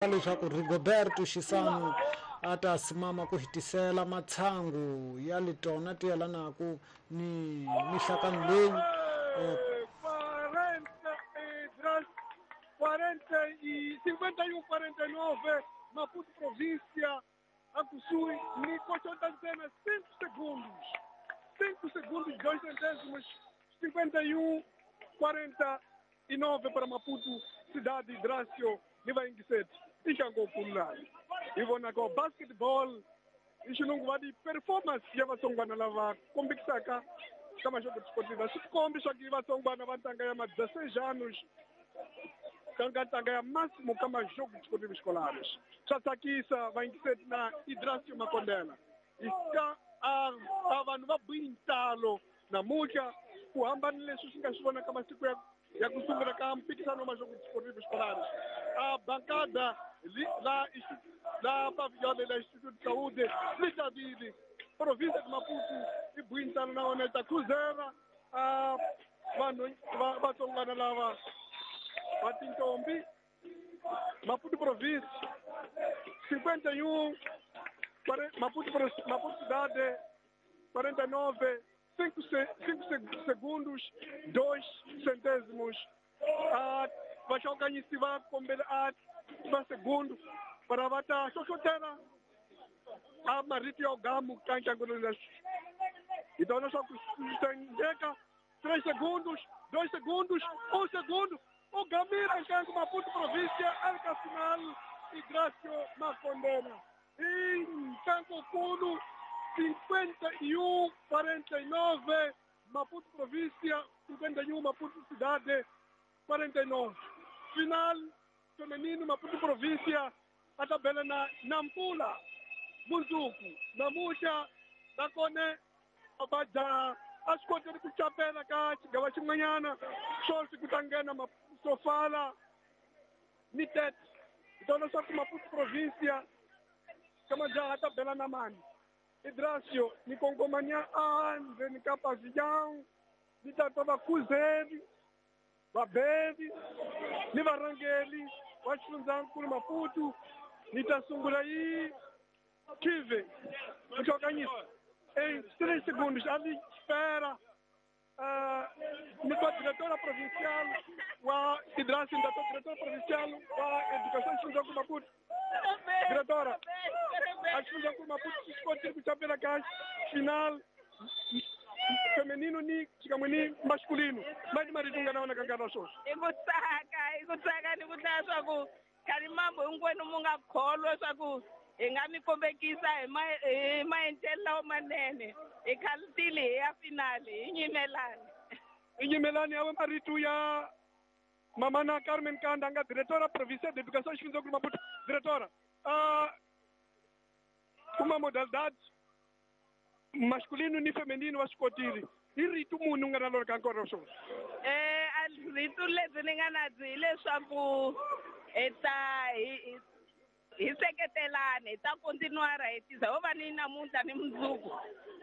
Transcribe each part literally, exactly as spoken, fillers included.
Leswaku Rigoberto Xisanu a ta simama ku hetisela matshangu ya letona ti yelanaku ni mihlakano leyi eh, quarenta e cinquenta e um, quarenta e nove, Maputo província, a kusuhi ni kochota ntsena cinco segundos, cinco segundos, dois centésimos, cinquenta e um, quarenta e nove para Maputo, cidade Drácio, ni vaingiseti i xangokululani hi vonaka wa basketball i xilungu va di performance ya vatsongwana lava kombekisaka ka maxoko sportiva swi tikombi swa ku i vatsongwana va ntanga ya ma dezesseis anos ka ntanga ya máximo ka maxoko sportivo escolares. Swa tsakisa vayingiseti na Idracio Makondela hi ka a a vanhu va buyintalo namuntlha ku hambana leswi swi nga swi vona ka masiku ya ya ku sungula ka mpikisano wa maxoko sportivo escolares. A bancada la la pavilhão da Instituto de Saúde Lichabili, província de Maputo, e Buintano na Oneta Cruzeiro, a vanhu vatsongwana lava va tintombi Maputo província cinquenta e um, Maputo Maputo cidade quarenta e nove, cinco segundos, dois centésimos. A vaxokanyisi va kombela a va segundo para va ta hlohlotela a marito ya gamu ka ntlangu leswi hi tona swa ku swi três segundos, dois segundos, um segundo, o gamira ntlangu Maputo província arca final e Grácio Makondena e ntlangu kulu cinquenta e um, quarenta e nove, Maputo província cinquenta e um, Maputo cidade quarenta e nove. Final feminino Maputo província a tabela na Nampula, Munzuku, Namusha, Nakone, Abaja, as contas de Kuchapela, Kachi, Gawachimanyana, Sorsi Kutangena, Sofala, Nitet. Então nós somos Maputo província, Kamanja a tabela na mani. Idrácio, Nikongomania, Anze, Nikapazião, Nitatova Kuzevi, Babevi, Nivarangeli, Wachunzankulu Maputo, Nitasungulaí, Kive, Muchokanisa. Em três segundos, ali espera uh, a diretora provincial, a Idrácio, a diretora provincial, a Educação de Maputo. Diretora, a Fundação Maputo, escolhe pela caixa final feminino ni xikan'we masculino. Mani marito nga na wona ka nkarhi wa sweswi? I ku tsaka, i ku tsaka ni ku tlhela swa ku khani mambo hinkwenu mu nga kholwa swa ku hi nga mi kombekisa hi ma hi maendlelo lawa manene. Hi khalutile hi ya finale, hi nyimelani. Hi nyimelani ya marito ya mamana Carmen Kanda nga diretora provincial de Educação Xifundzankulu Maputo. Diretora, uh, uma modalidade masculino ni feminino wa swikotile. I rito munhu nga na lona ka nkarhi wa swona? Eh, a rito lebyi ni nga na byi hileswaku hi ta hi hi seketelana, hi ta continuara hi tisa ho va ni namuntlha ni mundzuku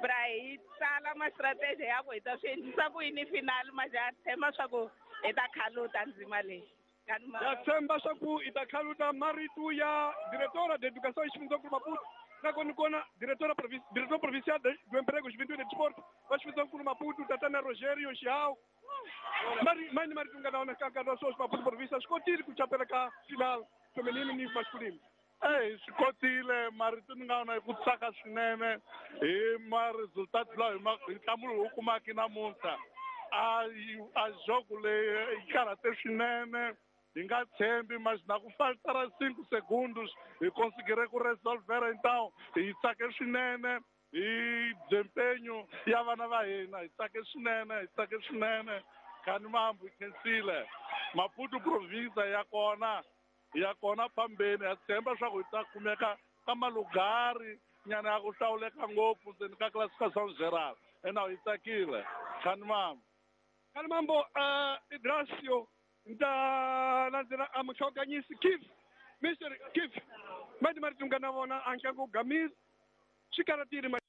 bra hi tsala ma-strategy ya ku hi ta swi endlisa ku yini finale maja tshemba swa ku hi ta khaluta ndzima leyi. Ya tshemba swa ku hi ta khaluta marito ya diretora de Educação Xifundzankulu Maputo. Nakona kona diretora diretor provincial do Emprego, Juventude e Desporto, wa Xifundzankulu Maputo, Tatana Rogério Xiao. Mari mani marito nga na wona ka nkarhi wa sweswi Maputo província swi kotile ku chapela ka final feminino ni masculino? Ei, swi kotile marito ni nga wona hi ku tsaka swinene hi ma-resultat lawa hi ma hi nhlamulo lowu kumaka namuntlha. A a jogo leyi yi karhate swinene. Hi nga tshembi mas na ku faltara cinco segundos hi conseguire ku resolver, então hi tsake swinene hi desempenho ya vana va hina, hi tsake swinene, hi tsake swinene. Khani mambo hi khensile Maputo província ya kona ya kona phambeni, ha tshemba swa ku hi ta kumeka ka malugari nyana ya ku hlawuleka ngopfu ndzeni ka classificação geral. Ena hi tsakile khani mambo. Khani mambo, uh, Idracio nta landzela a muxokanyisi Kif, Mister Kif, mani marito nga na vona a ntlangu gamile swi karhatile.